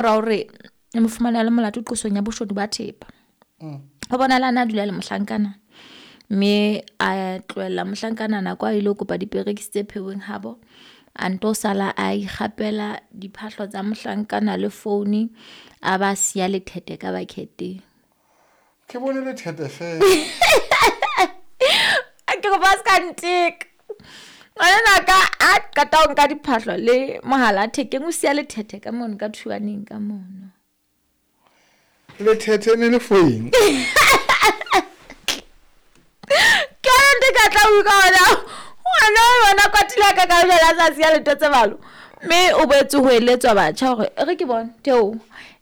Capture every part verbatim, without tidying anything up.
Mora hore e mo fumane a le molato qosong ya boshodu ba thepa. Ho bonahala a na dula le mohlankana mme a tlohella mohlankana nako a ile ho kopa diperekisi tse pheuweng habo. A nto sala a ikgapela diphahlo tsa mohlankana le founi, a ba siya lethete ka bucket-eng. Ke bone lethete fela. A ke kopa o ska nteka. Ngwanenwa ka a qeta ho nka diphahlo le mohala thekeng, o siya lethete ka mono ka thuaneng ka mono. Lethete ne le for eng? Ke yona ntho e ka tla utlwa hona. Ngwana o yona kwatile ka ka jwale a sa siya letho tse balo. Mme o boetse ho eletswa batjha hore e re ke bone theo.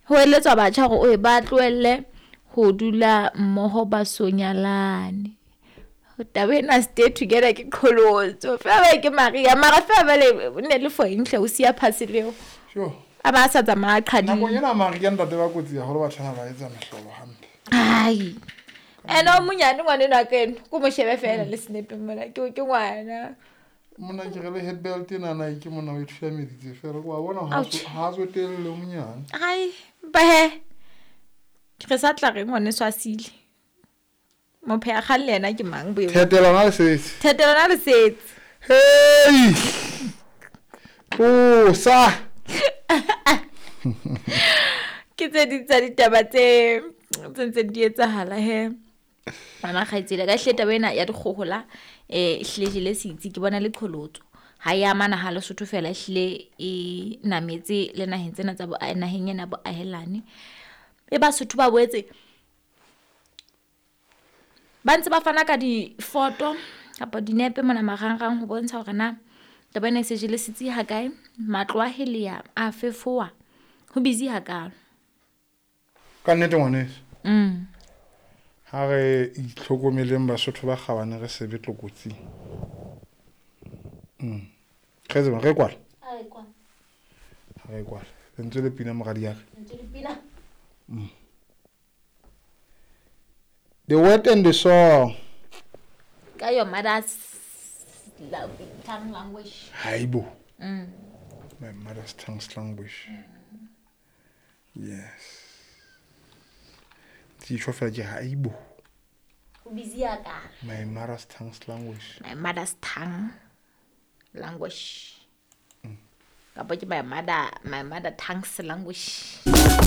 Ho eletswa batjha hore o ba tlohelle ho dula mmoho ba so nyalane. Taba ena stay together ke qholotso. Feela ba ke Maria mara feela jwale ne le for eng hle o siya parcel eo. Sure. A ba sa tsamaya a Nakong qhadile. ena Maria ntate ba kotsi haholo batho bana ba etsa mehlolo hampe. Ai. Ene o monyane ngwanenwa ka eno, ko mo shebe feela le senepeng mona ke ke ngwana. Monna ke re le headbelt ena na ke monna o e thulameditse fela wa bona ha Ouch. ha tsotelle o monyane. Ai, ba he. Re sa tla reng ngwaneso a sile. Mopheha kgang le yena ke mang boemong? Thetelo na le setse. Thetelo na le setse. Hey! Tlosa. Ke tse ding tsa ditaba tse tse ntseng di etsahala he. Ngwana kgaitsedi ka ehlile taba ena ya dikgohola eh ehlile jele setsi ke bona le qholotso. Ha ya amana ha Lesotho fela ehlile e nametse le naheng tsena tsa bo naheng ena boahelane. E Basotho ba boetse ba ntse ba fana ka difoto kapa dinepe mona marangrang ho bontsha hore na taba ena e se jele setsi ha kae, matlo a heleya a fefowa, ho busy hakalo. Ka nnete ngwaneso. Mm. Ha re itlhokomeleng Basotho ba kgabane re se be tlokotsing. Mm. Re tseba re kwala. A re kwala. Ha re kwala. Lentswe le pina moradi ya ka. Lentswe le pina. Mm. The word and the song. Ka your mother's tongue language. Haibo. Mm. My mother's tongue language. Mm. Yes. Ke fela ke haibo. O busy ya ka. My mother's tongue language. My mother's tongue language. Mm. Kapa ke my mother, my mother tongue's language.